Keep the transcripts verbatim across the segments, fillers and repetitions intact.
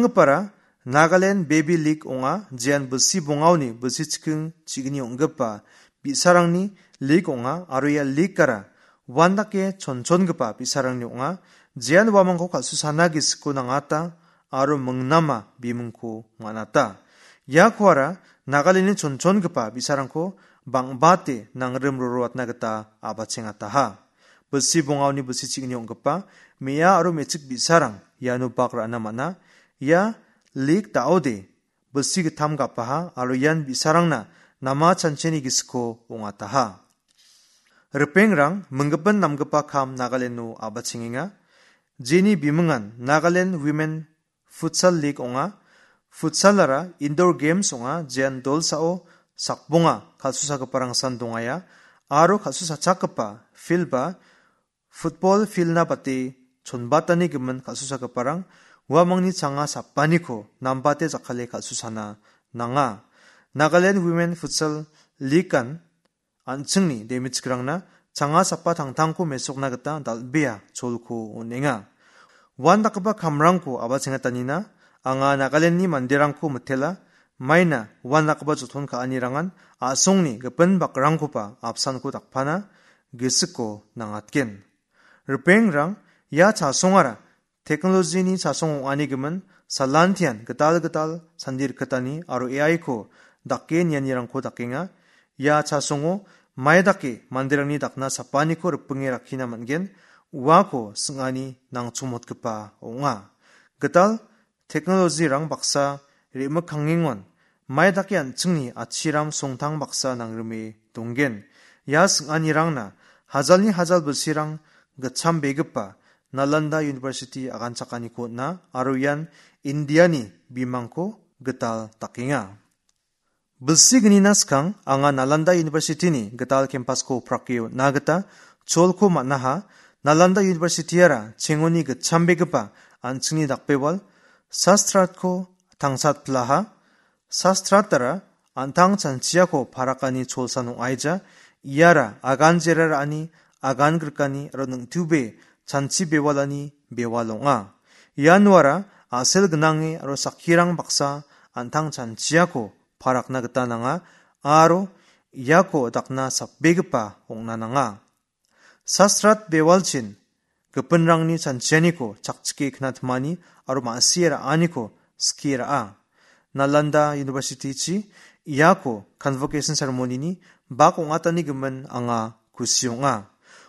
Gipara Nagaland Baby League ong·a, jean bilsi bongaoni bilsi chiking chigni ong·gipa bi·sarangni league ong·a aro ia leagueara uandake chonchongipa bi·sarangni ong·a, jean uamangko kal·susana gisiko nangata aro mingnama bimingko man·ata. Ia kuara Nagalandni chonchongipa bi·sarangko bang·bate nangrim roroatna gita a·bachengataha. Bilsi bongaoni bilsi chigni ong·gipa me·a aro me·chik bi·sarang iano bak ra·na man·a. Ia league da·ode bilsi gittam gapaha aro ian bi·sarangna nama chancheni gisiko ong·ataha. Ripengrang, minggipin namgipa kam Nagalando a·bachengenga. Jeni bimingan Nagaland Women Futsal League ong·a. Futsalara indoor games ong·a, jean dolsao sakbonga kal·susagiparangsan dongaia aro kal·susachakgipa field-ba football field-na bate chonbatani gimin kal·susagiparang uamangni changa sapaniko nambate jakkale kal·susana nanga. Nagaland Women Futsal League-an an·chingni demichikrangna changa sapa tangtangko mesokna gita dal·bea cholko on·enga. Uandakgipa kamrangko a·bachengatanina anga Nagalandni manderangko mitela, maina uandakgipa joton ka·anirangan a·songni gipin bakrangkoba apsanko dakpana gisiko nangatgen. Ripengrang, ia chasongara technology-ni chasong ong·ani gimin salantian gital gital sandi rikgitani aro A I-ko dake nianirangko dakenga. Ia chasongo mai dake manderangni dakna sapaniko ripinge rakkina man·gen, uako sing·ani nangchomotgipa ong·a. Gital technology-rang baksa re·mikkangengon mai dake an·chingni atchiram songtang baksa nangrime donggen. Ia sing·anirangna hajalni hajal bilsirang gitchambegipa Nalanda University aganchakaniko on·a aro ian Indiani bimangko gital dakenga. Bilsi gnina skang anga Nalanda University-ni gital campus-ko prake on·na gita cholko man·aha. Nalanda University-ara chengoni gitchambegipa an·chingni dakbewal Sastratko tangsatpilaha. Sastratara an·tang chanchiako parakani cholsan ong·aija. Iara agan jera ra·ani, agan grikani aro ningtube chanchi bewalani bewal ong·a. Ianuara a·sel gnange aro sakkirang baksa an·tang chanchiako parakna gita nanga aro iako dakna sapbegipa ong·na nanga. Sastrat bewalchin gipinrangni chanchianiko chakchike knatmani aro ma·sie ra·aniko skie ra·a. Nalanda University-chi iako convocation ceremony-ni bak ong·atani gimin anga kusi ong·a.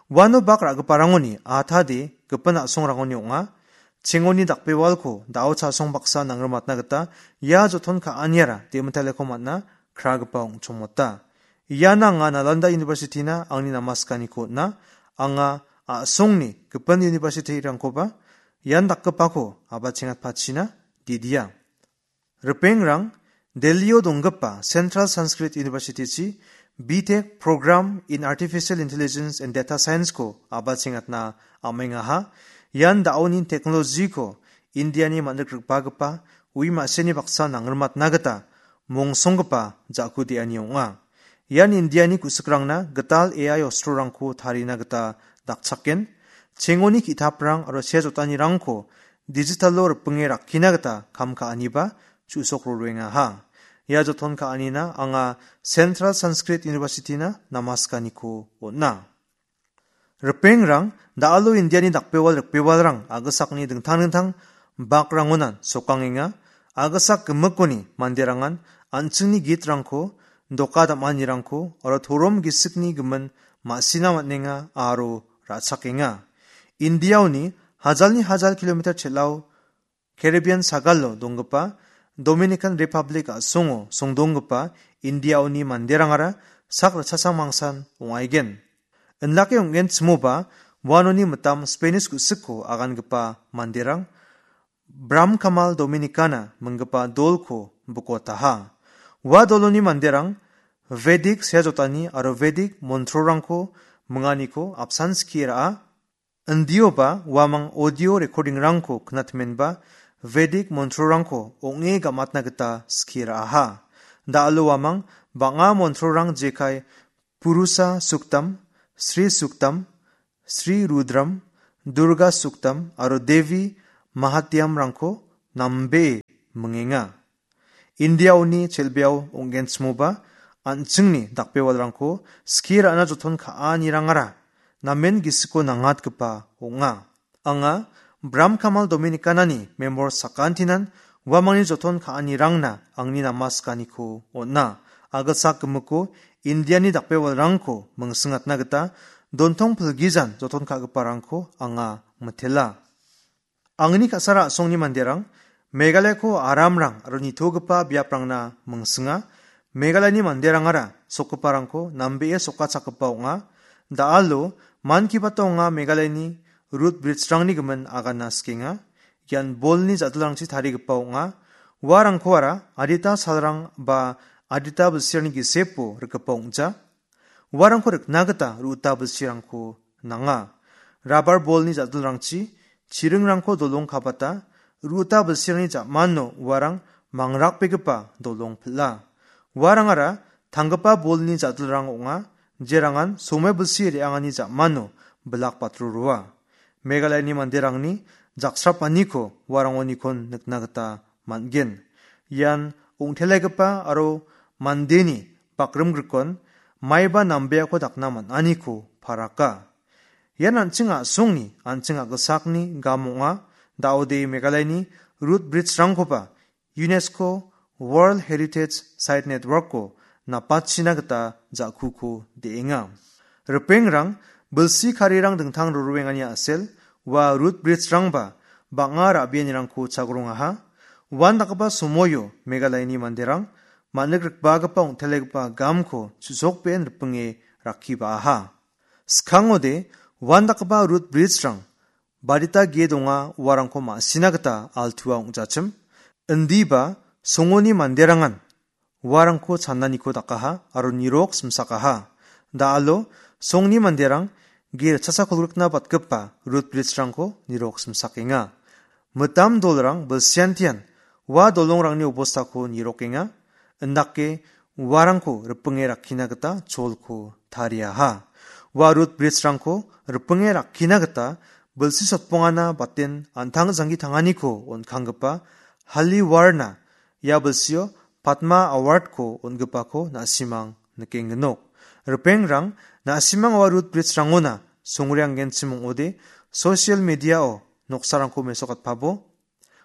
Uano bak ra·giparangoni atade gipin a·songrangoni ong·a. Chengoni dakbewalko da·o chasong baksa nangrimatna gita ia joton ka·aniara demitaleko man·a kragipa ong·chongmota. Ian anga Nalanda University-na angni namaskaniko on·a. Anga a·songni gipin university-rangkoba ian dakgipako a·bachengatpachina didia. Ripengrang, Delhi-o donggipa Central Sanskrit University-chi B Tech Program in Artificial Intelligence and Data Science-ko a·bachengatna am·engaha. Ian da·oni technology-ko Indiani man·rik rikbagipa ui ma·seni baksa nangrimatna gita mongsonggipa ja·ku de·ani ong·a. Ian Indiani ku·sikrangna gital A I ostrorangko tarina gita dakchaken. Chengoni ki·taprang aro sea jotanirangko digital-o ripinge rakkina gita kam ka·aniba chu·sok roengaha. Ia joton ka·anina anga Central Sanskrit University-na namaskaniko on·a. Ripengrang, da·alo Indiani dakbewal rikbewalrang a·gisakni dingtang dingtang bakrangonan sokangenga. A·gisak gimikoni manderangan an·chingni gitrangko, doka dam·anirangko aro torom gisikni gimin ma·sina man·enga aro ra·chakenga. Indiaoni hajalni hajal kilometer chel·ao Caribbean sagalo donggipa Dominican Republic a·songo songdonggipa Indiaoni manderangara sak ritchasang mangsan ong·aigen. Indake ong·genchimoba uanoni mitam Spanish ku·siko agangipa manderang Bram Kamal Dominicana minggipa dolko bikotaha. Ua doloni manderang Vedic sea jotani aro Vedic montrorangko minganiko apsan skie ra·a. Indioba uamang audio recording-rangko knatmenba Vedic montrorangko ong·e gamatna gita skie ra·aha. Da·alo uamang bang·a montrorang jekai Purusa Suktam, Sri Suktam, Sri Rudram, Durga Suktam aro Devi Mahatyamrangko nambe mingenga. Indiaoni chelbeo ong·genchimoba an·chingni dakbewalrangko skie ra·na joton ka·anirangara namen gisiko nangatgipa ong·a. Anga Bram Kamal Dominikanani memor sakantinan uamangni joton ka·anirangna angni namaskaniko on·a. Agilsak gimiko Indiani dakbewalrangko mingsingatna gita dontong pilgijan joton ka·giparangko anga mitela. Angni ka·sara a·songni manderang Meghalayako aramrang aro nitogipa biaprangna mingsinga. Meghalayani manderangara sokgiparangko nambee sokachakgipa ong·a. Da·alo Mann Ki Bato anga Meghalayani rut bridge-rangni gimin aganna sikenga. Ian bolni ja·dilrangchi tarigipa ong·a. Uarangkoara adita salrang ba adita bilsirangni gisepo rikgipa ong·ja. Uarangko rikna gita ru·ota bilsirangko nanga. Rabar bolni ja·dilrangchi chiringrangko dolong kabata, ru·ota bilsirangni ja·mano uarang mangrakbegipa dolong pil·a. Uarangara tanggipa bolni ja·dilrang ong·a, jerangan some bilsi re·angani ja·mano bilak batroroa. Meghalayani manderangni jaksrapaniko uarangonikon nikna gita man·gen. Ian ong·telegipa aro mandeni bakrimgrikon maiba nambeako dakna man·aniko paraka. Ian an·ching a·songni, an·ching a·gilsakni gam ong·a. Da·ode Meghalayani rut bridge-rangkoba UNESCO World Heritage Site Network-o napachina gita ja·kuko de·enga. Ripengrang, bilsi karirang dingtang rorwengani a·sel, ua rut bridge-rangba bang·a ra·bianirangko chagrongaha. Uandakgipa somoio Meghalayani manderang man·rikbagipa ong·telegipa gamko chu·sokbeen ripinge rakkiba·aha. Skangode uandakgipa rut bridge-rang barita ge donga uarangko ma·sina gita altua ong·jachim. Indiba songoni manderangan uarangko chananiko dakaha aro nirok simsakaha. Da·alo songni manderang ge ritchasa kolgrikna batgipa rut bridge-rangko nirok simsakenga. Mitam dolrang bilsiantian ua dolongrangni obostako nirokenga. Indake uarangko ripinge rakkina gita cholko tariaha. Ua rut bridge-rangko ripinge rakkina gita bilsi sotbongana baten an·tang janggi tanganiko on·kanggipa Hali Warna ia bilsio Padma Award-ko on·gipako na·simang nikengnok. Ripengrang, na·simang ua rut bridge-rangona songreanggenchim ong·ode social media-o noksarangko mesokatpabo.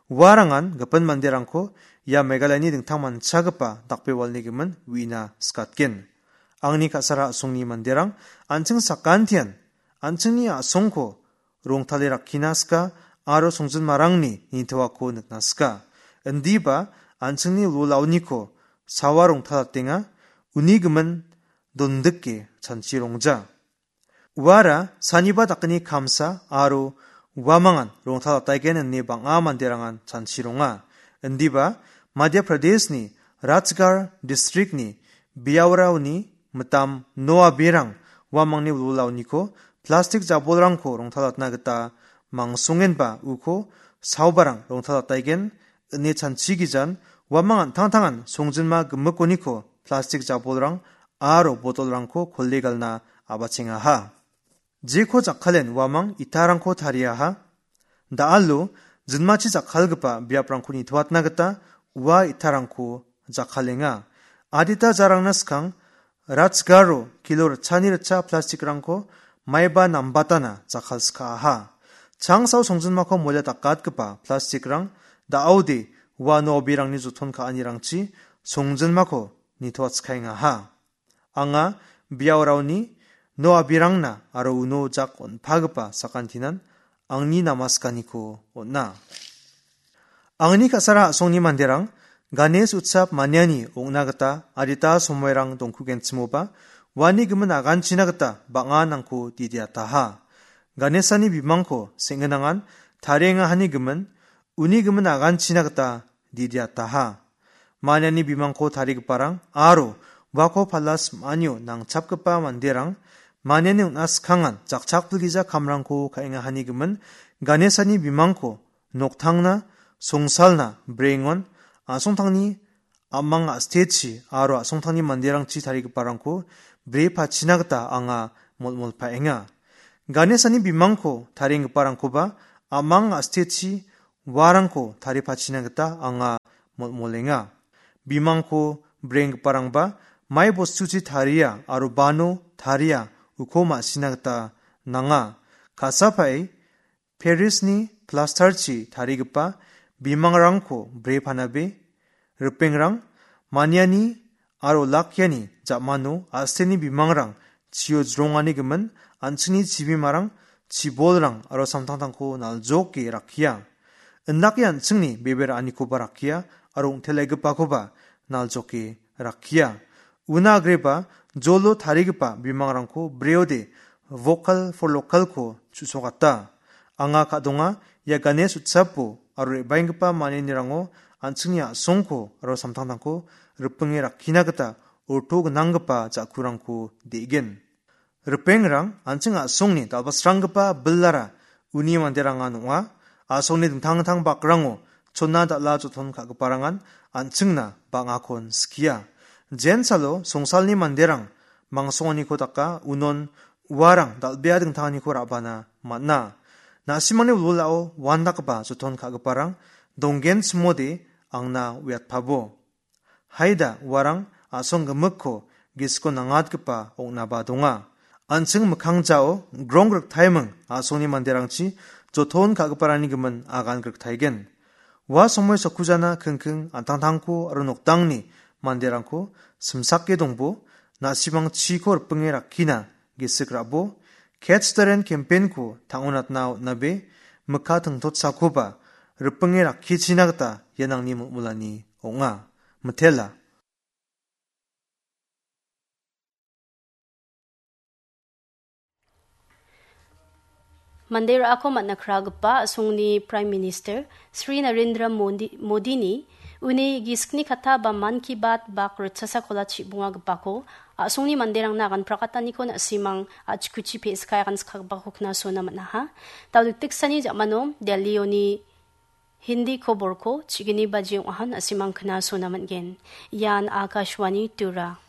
Uarangan gipin manderangko ia Meghalayani dingtangmanchagipa dakbewalni gimin uina skatgen. Angni ka·sara a·songni manderang an·ching sakantian an·chingni a·songko rongtale rakkina sika aro songjinmarangni nitoako nikna sika. Indiba an·chingni wilwilaoniko sawa rongtalatenga, uni gimin dondike chanchi rongja. Uara saniba dakni kamsa aro uamangan rongtalataigen ine bang·a manderangan chanchironga. Indiba Madhya Pradeshni Rajgarh districtni Biaoraoni mitam noa berang uamangni wilwilaoniko plastik jabolrangko rongtalatna gita mangsongenba uko saobarang rongtalataigen ine chanchigijan uamang an·tangtangan songjinma gimikoniko plastik jabolrang aro botolrangko kole galna a·bachengaha. Jeko jakkalen uamang itarangko tariaha. Da·alo jinmachi jakkalgipa biaprangko nitoatna gita ua itarangko jakkalenga. Adita jarangna skang Rajgarh-o kilo ritchani ritcha plastikrangko maiba nambatana jakkalskaaha. Changsao songjinmako molia dakatgipa plastikrang da·ode ua no·obirangni joton ka·anirangchi songjinmako nitoatskaengaha. Anga biaoraoni no·abirangna aro uno jak on·pagipa sakantinan angni namaskaniko on·a. Angni ka·sara a·songni manderang Ganesh Utsav maniani ong·na gita adita somoirang dongkugenchimoba, uani gimin aganchina gita bang·a nangko didiataha. Ganeshani bimangko seng·ginangan tariengahani gimin, uni gimin aganchina gita didiataha. Maniani bimangko tarigiparang aro uako pala sim·anio nangchapgipa manderang maniani on·a skangan jakchakpilgija kamrangko ka·engahani gimin Ganeshani bimangko noktangna, songsalna, brengon, a·songtangni a·mang a·stechi aro a·songtangni manderangchi tarigiparangko brepachina gita anga molmolpaenga. Ganeshani bimangko tarienggiparangkoba a·mang a·stechi uarangko taripachina gita anga molmolenga. Bimangko brenggiparangba mai bostuchi taria aro bano taria uko ma·sina gita nanga. Ka·sapae Parisni plastarchi tarigipa bimangrangko bre panabe, ripengrang, maniani aro lakiani ja·mano a·seni bimangrang chio jrongani gimin an·chingni chibimarang, chibolrang aro samtangtangko naljoke rakkia. Indake an·chingni bebe ra·anikoba rakkia aro ong·telegipakoba naljoke rakkia. Una agreba jolo tarigipa bimangrangko breode vocal for localko chu·sokata. Anga ka·donga ia Ganesh utsapo aro re·baenggipa manianirango an·chingni a·songko aro samtangtangko ripinge rakkina gita orto gnanggipa ja·kurangko de·gen. Ripengrang an·ching a·songni dal·basranggipa bilara uni manderangan ong·a. A·songni dingtang dingtang bakrango chona dal·a joton ka·giparangan an·chingna bang·akon skia. Jensalo songsalni manderang mangsonganiko daka unon uarang dal·bea dingtanganiko ra·bana man·a. Na·simangni wilwilao uandakgipa joton ka·giparang donggen simode angna uiatpabo. Haida uarang a·song gimikko gisiko nangatgipa ong·naba donga. An·ching mikkangjao grong griktaiming a·songni manderangchi joton ka·giparangni gimin agan griktaigen. Ua somoi sakujana kingking an·tangtangko aro nokdangni manderangko simsake dongbo, na·simang chiko ripinge rakkina gisik ra·bo, Catch the Rain campaign-ko tang·onatna on·abe, mikka tingtotsakoba ripinge rakkichina gita ian angni molmolani ong·a. Mitela. Mande ra·ako man·a kragipa a·songni Prime Minister Sri Narendra Modi, Modini uni gisikni katta ba Mann Ki Baat bak ritchasa kola chibongagipako a·songni manderangna agan prakataniko na·simang a·chikuchi pe·skai agan skagipako knasona man·aha. Dal·dikdiksani ja·mano Delhi-oni Hindi koborko chigini baji ong·ahan na·simang knasona man·gen. Ian Akashvani Tura.